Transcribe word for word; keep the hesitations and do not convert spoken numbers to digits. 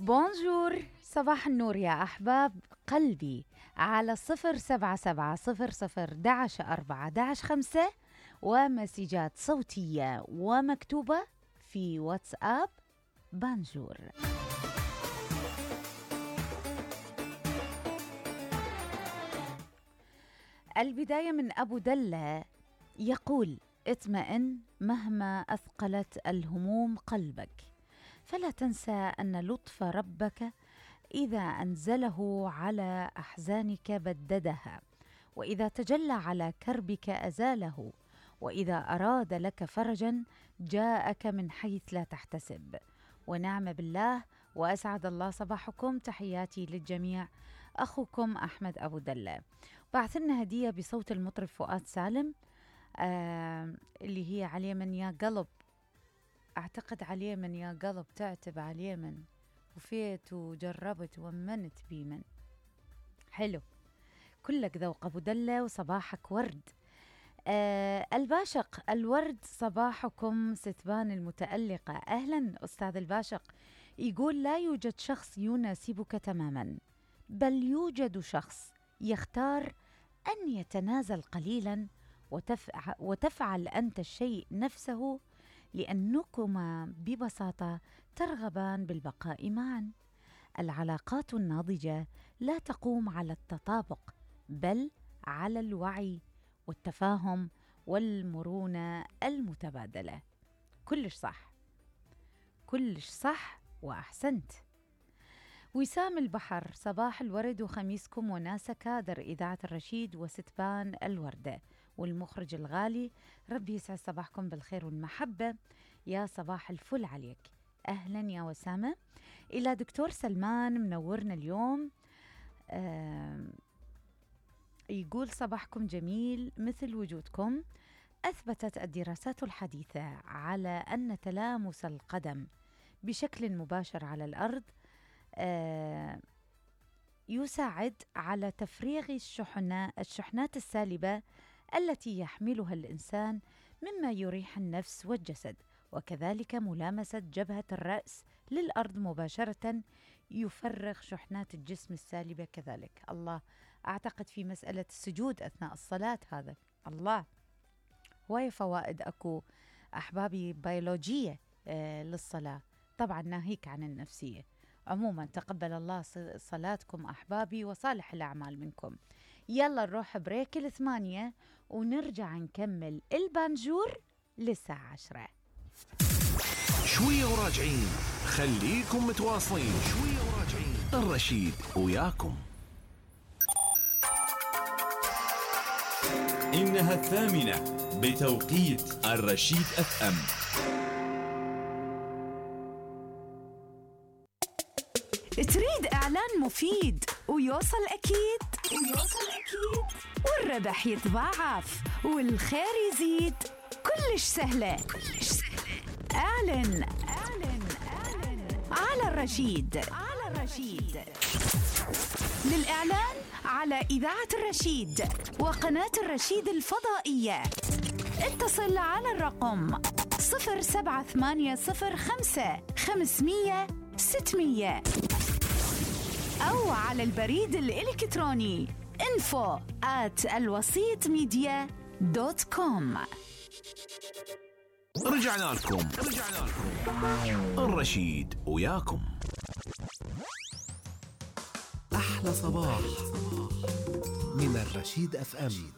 بونجور، صباح النور يا أحباب قلبي على صفر سبعة سبعة صفر صفر دعش أربعة دعش خمسة، ومسجات صوتية ومكتوبة في واتساب بونجور. البداية من أبو دلة يقول: اطمئن مهما أثقلت الهموم قلبك، فلا تنسى أن لطف ربك إذا أنزله على أحزانك بددها، وإذا تجلى على كربك أزاله، وإذا أراد لك فرجا جاءك من حيث لا تحتسب. ونعم بالله، وأسعد الله صباحكم. تحياتي للجميع، أخوكم أحمد أبو دلة. بعث لنا هدية بصوت المطرب فؤاد سالم، آه اللي هي على اليمن يا قلب، أعتقد على اليمن يا قلب، تعتب على اليمن، وفيت وجربت ومنت بيمن. حلو، كلك ذوق أبو دلة، وصباحك ورد. آه الباشق، الورد صباحكم ستبان المتألقة. أهلا أستاذ الباشق. يقول: لا يوجد شخص يناسبك تماما، بل يوجد شخص يختار أن يتنازل قليلا وتفع وتفعل أنت الشيء نفسه، لأنكما ببساطة ترغبان بالبقاء معا. العلاقات الناضجة لا تقوم على التطابق، بل على الوعي والتفاهم والمرونة المتبادلة. كلش صح، كلش صح وأحسنت. وسام البحر، صباح الورد وخميسكم وناسة كادر إذاعة الرشيد وستبان الوردة والمخرج الغالي، ربي يسعد صباحكم بالخير والمحبة. يا صباح الفل عليك. أهلا يا وسامة. إلى دكتور سلمان منورنا اليوم، آه يقول: صباحكم جميل مثل وجودكم. أثبتت الدراسات الحديثة على أن تلامس القدم بشكل مباشر على الأرض آه يساعد على تفريغ الشحنات, الشحنات السالبة التي يحملها الإنسان، مما يريح النفس والجسد. وكذلك ملامسة جبهة الرأس للأرض مباشرة يفرغ شحنات الجسم السالبة كذلك. الله، أعتقد في مسألة السجود أثناء الصلاة هذا، الله، هواي فوائد أكو أحبابي بيولوجية آه للصلاة، طبعا ناهيك عن النفسية. عموما تقبل الله صلاتكم أحبابي وصالح الأعمال منكم. يلا نروح بريك الثمانية ونرجع نكمل البانجور للساعة عشرة. شوية وراجعين، خليكم متواصلين. شوية وراجعين، الرشيد وياكم. إنها الثامنة بتوقيت الرشيد أف أم. تريد إعلان مفيد ويوصل أكيد ويوصل أكيد والربح يتضاعف والخير يزيد؟ كلش سهلة، كلش سهلة. اعلن اعلن اعلن على الرشيد، على الرشيد. للإعلان على إذاعة الرشيد وقناة الرشيد الفضائية اتصل على الرقم صفر سبعة ثمانية صفر خمسة خمسمية ستمية أو على البريد الإلكتروني info at الوسيط ميديا دوت كوم. رجعنا لكم رجعنا لكم الرشيد وياكم. أحلى صباح من الرشيد أف أم.